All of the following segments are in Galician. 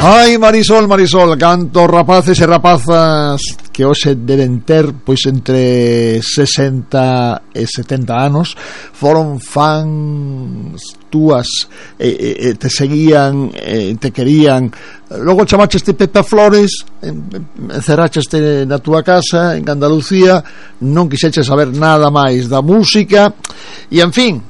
Ai, Marisol, cantos rapaces e rapazas que hoxe deben ter pois entre 60 e 70 anos foron fans túas, te seguían, te querían, logo chamaxeste Pepa Flores, encerraxeste na túa casa en Andalucía, non quixeches saber nada máis da música e, en fin,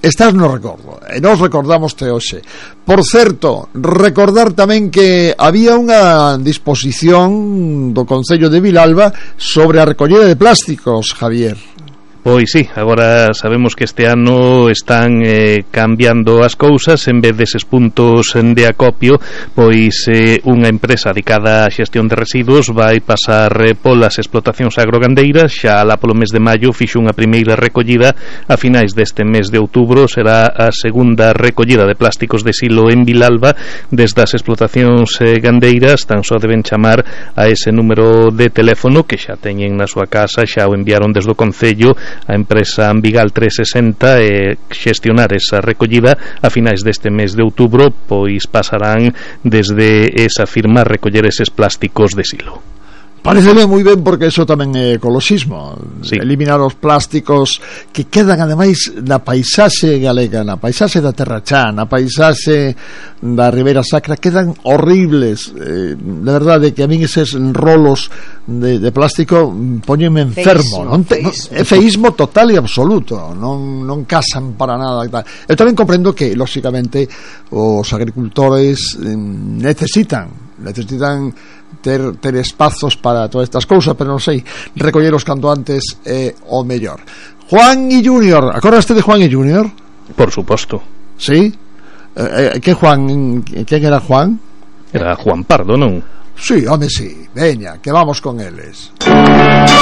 estás no recordo, e nos recordamoste hoxe. Por certo, recordar tamén que había unha disposición do Concello de Vilalba sobre a recollida de plásticos, Javier. Pois sí, agora sabemos que este ano están cambiando as cousas. En vez deses puntos de acopio, pois unha empresa dedicada á xestión de residuos vai pasar polas explotacións agrogandeiras. Xa lá polo mes de maio fixo unha primeira recollida. A finais deste mes de outubro será a segunda recollida de plásticos de silo en Vilalba. Desde as explotacións gandeiras tan só deben chamar a ese número de teléfono que xa teñen na súa casa, xa o enviaron desde o Concello a empresa Ambigal 360 e xestionar esa recollida. A finais deste mes de outubro pois pasarán desde esa firma a recoller eses plásticos de silo. Pareceme moi ben porque eso tamén é ecoloxismo, sí. Eliminar os plásticos que quedan ademais na paisaxe galega, na paisaxe da Terra Chá, na paisaxe da Ribeira Sacra, quedan horribles, de verdade que a min eses rolos de plástico poñenme enfermo, é feísmo total e absoluto, non casan para nada e tal. Eu tamén comprendo que lóxicamente os agricultores necesitan ter espazos para todas estas cousas, pero non sei, recolleros canto antes é o mellor. Juan y Junior, acordaste de Juan y Junior? Por suposto. Sí? Que Juan? Quen era Juan? Era Juan Pardo, non? Sí, home, sí, veña, que vamos con eles.